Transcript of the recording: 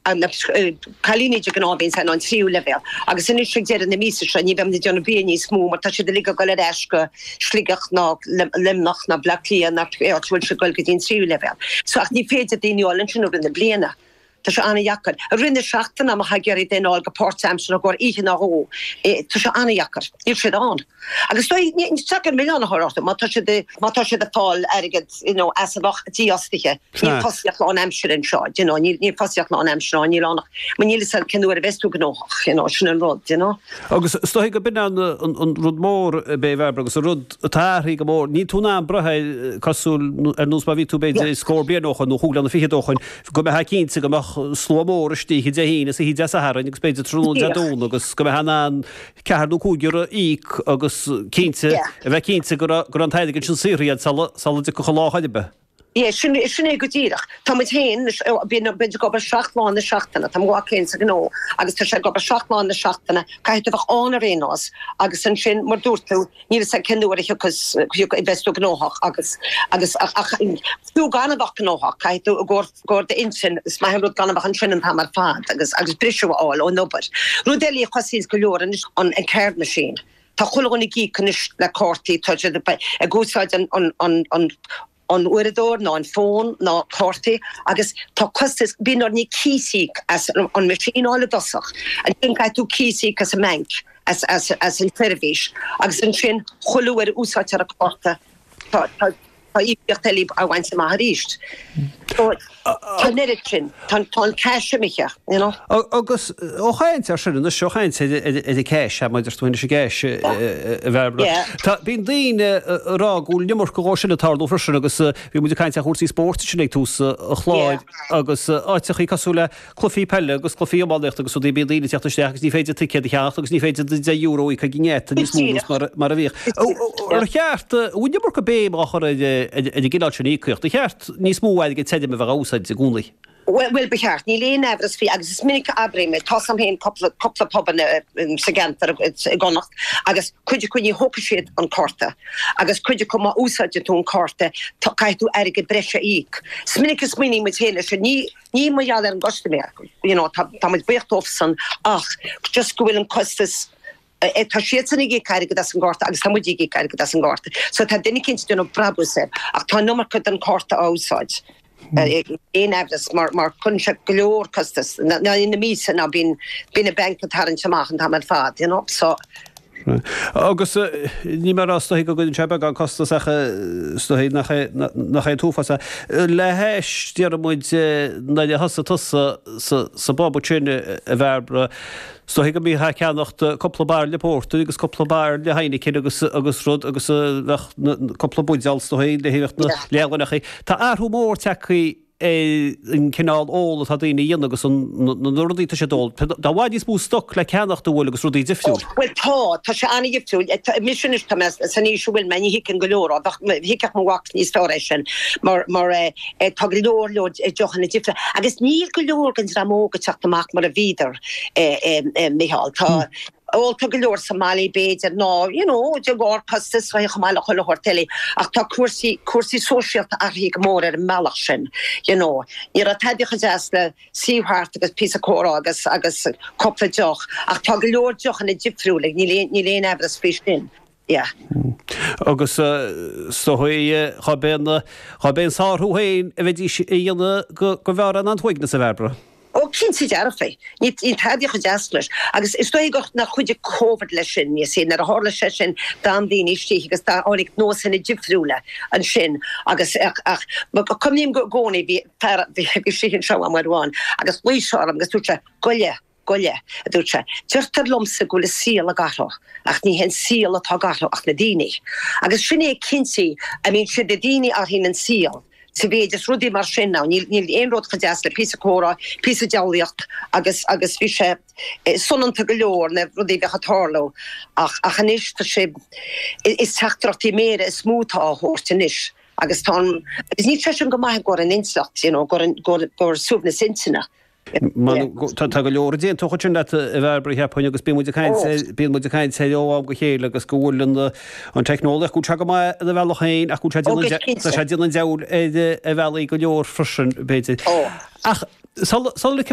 Na cailíní de ghnáth a bhíonns ann, an tríú leibhéal. Agus anois ag deireadh na míosa seo ní bheimid ag déanamh bia níos mó mar tá siad uilig ag dul ar ais go Sligeach ná Luimneach ná Bleá Cliath ná pé áit a bhfuil siad ag dul go dtí an tríú leibhéal. So ach ní féidir daoine a fháil ansin i rith na bliana. Tá sé an-dheacair. I rith na seachtaine má tá ag iarraidh duine a fháil go páirtaimseartha i gcomhair oíche nó dhó, tá sé an-dheacair. Níl siad ann. Agus is dóigh, ní deacair milleán a chur orthu má tá siad, má tá siad ag fáil airgead, you know, as a bheadh dífhostaithe. Níl fostaíocht lánaimseartha anseo, do you know, níl, níl fostaíocht lánaimseartha ann, níl ann ach, mar níl fhios agat cén uair a bheas tú gnóthach, you know, sin an rud, you know. Agus is dóigh go b'in an, an rud mór, a Bhairbre, agus an rud atá athraithe go mór, níl tú in ann brath air cosúil ar nós mar a bhí tú b'fhéidir scór bliain ó shoin nó chúig bliana fichead ó shoin, go mbeifeá cinnte go mbeadh slua mór istigh Dé hAoine is oíche Dé Sathairn agus b'fhéidir tráthnóna Dé Domhnaigh agus go mbeifeá in ann ceathair nó cúigear a íoc agus cinnte, a bheith cinnte go raibh an t-airgead sin saothraithe sula dtiocfadh an lá chor ar bith. Yeah, sin, sin é go díreach. Tá muid féin, bíonn muid ag obair 7 lá na seachtaine, tá mo mhac féin sa ghnó agus tá sé ag obair 7 lá na seachtaine, caithfidh tú bheith ann ar aon nós agus ansin, mar dúirt tú, níl fhios agat cén uair a thiocfas, a bheas tú gnóthach agus, agus, ach fiú gan a bheith gnóthach, caithfidh tú i gcomhair, gcomhair d'intinn, is maith an rud gan a bheith ansin an t-am ar fad agus agus briseadh a fháil ón obair. Rud eile a chosaíonns go leor anois an an card machine. Tá chuile dhuine ag íoc anois le cártaí, tá siad ag úsáid an an an an an uaireadóir ná an fón ná cártaí agus tá costas, bíonn orainn cíos a íoc as an machine a fháil i dtosach, ansin caithfidh tú cíos a íoc as an mbanc, as as as an tseirbhís agus ansin chuile uair a úsáidtear an cárta tá tá Tá íocaíocht eile á bhaint amach arís. So, tá an oiread sin, tá an cash imithe, you know. Agus ó chaint ar sin anois, ó chaint ar an cash, mar a deir tú anois an cash, a Bhairbre, tá, bíonn daoine ag rá go bhfuil an iomarca dhó sin ag tarlú freisin agus bhí muid ag caint ar chúrsaí spóirt ansin ag tús an chláir agus áiteachaí cosúil le cluichí peile agus cluichí iománaíochta agus rudaí, bíonn daoine ag teacht isteach agus ní féidir ticéad a cheannacht agus ní féidir €10 a íoc ag an ngeata níos mó nós mar a bhíodh. Ar cheart, an bhfuil an iomarca béim á chur ar an gcineál sin íocaíocht? Ar cheart níos mó airgead tirim a bheith á úsáid i gcónaí? Bhuel, ba cheart. Níl aon amhras faoi agus is minic a abraím é. Tá 's a'm féin cúpla, cúpla pub sa gceantar i gConnacht agus cuid acu ní thógfaidh siad an cárta agus cuid acu má úsáideann tú an cárta caithfidh tú airgead breise a íoc. Is minic a smaoiníonn muid féin leis sin. Ní, Ní mar gheall ar an gcustaiméir, you know, tá, tá muid buíoch dóibhsan ach just go bhfuil an costas, eh, tá siadsan ag íoc airgead as an gcárta agus tá muid ag íoc airgead as an gcárta. So tá duine eicínt ag déanamh brabús air ach tá an iomarca den cárta á úsáid. Eh, aon amhras mar, mar cuireann sé go leor costas, ná ina míosa ná bíonn, bíonn an banc ag tarraingt amach an t-am ar fad, you know, so. Agus níl mé ag rá is dóichí go gcuireann sé beagán costas ach is dóichí nach é nach é an t-uafás é. Le hais, déarfaidh muid, nuair a thosaigh tusa sa bpub ansin a Bhairbre, is dóichí go mbítheá ag ceannacht cúpla bairille pórtair agus cúpla bairille Heineken agus agus rud agus bheadh cúpla buidéal is dóichí le haghaidh na leathdhúineachaí. Tá athrú mór tagtha ar an cineál ól atá daoine a dhéanamh agus na rudaí atá siad ag ól. Tá i bhfad níos mó stoc le ceannacht an bhfuil agus rudaí difriúil. Bhuel tá, tá sé an-dhifriúil. Mise anois, tá mé san aois a bhfuil mé, ní thuigeann go leor, bheadh, thuigfeadh mo mhac níos fearr é sin mar, mar tá go leor leor deochanna difriúla agus níl go leor den dream óg ag teacht amach mar a bhíodar, Micheál. Tá, Óltar go leor sa mbaile b'fhéidir ná you know de bharr costas chomh maith le chuile shórt eile ach tá cúrsaí cúrsaí sóisialta athraithe go mór ar an mbealach sin you know. Ní raibh tada chomh deas le suí thart agus píosa comhrá agus agus cúpla deoch ach tá go leor deochanna difriúla níl aon níl aon amhras faoi sin yeah. Agus is dóigh dhá b'é an dhá b'é an sárú féin a bheidís a dhéanamh go go mb'fhearr an t-uaigneas a Bhairbre. Ó, cinnte dearfa. Níl tada chomh deas leis. Agus is dóigh gur nár chuidigh Covid leis sin, you see, nuair a tharla sé sin d'fhan daoine istigh agus tháinig nósanna difriúla ansin agus ach ach cuimhním i gcónaí bhí fear bhí istigh anseo uair amháin agus ghlaoigh sé orm agus dúirt sé, Goile, goile, a dúirt sé, deirtear liomsa go bhfuil an saol ag athrú ach ní hé an saol atá ag athrú ach na daoine. Agus sin é cinnte, I mean, siad na daoine a athraíonn an saol. Sa mhéid is rudaí mar sin ann, níl aon rud chomh deas le píosa comhrá, píosa diabhlaíocht agus agus bhí sé soineanta go leor na rudaí a bheadh ag tarlú ach ach anois tá sé, is teachtaireachtaí méire is mó atá á thabhairt anois agus tá an, agus níl sé sin go maith i gcomhair an intleacht, you know, i gcomhair i gcomhair suaimhneas intinne. Tá go leor a d'aontódh ansin leat, a Bhairbre, cheapfainn, agus bíonn muid ag caint air, bíonn muid ag caint air ó am go chéile agus go bhfuil an, an teicneolaíocht, go bhfuil sé go maith ina bhealach féin ach go bhfuil sé ag déanamh, tá sé ag déanamh an diabhail ar, ar bhealaí go leor freisin, b'fhéidir. Ach sula, sula.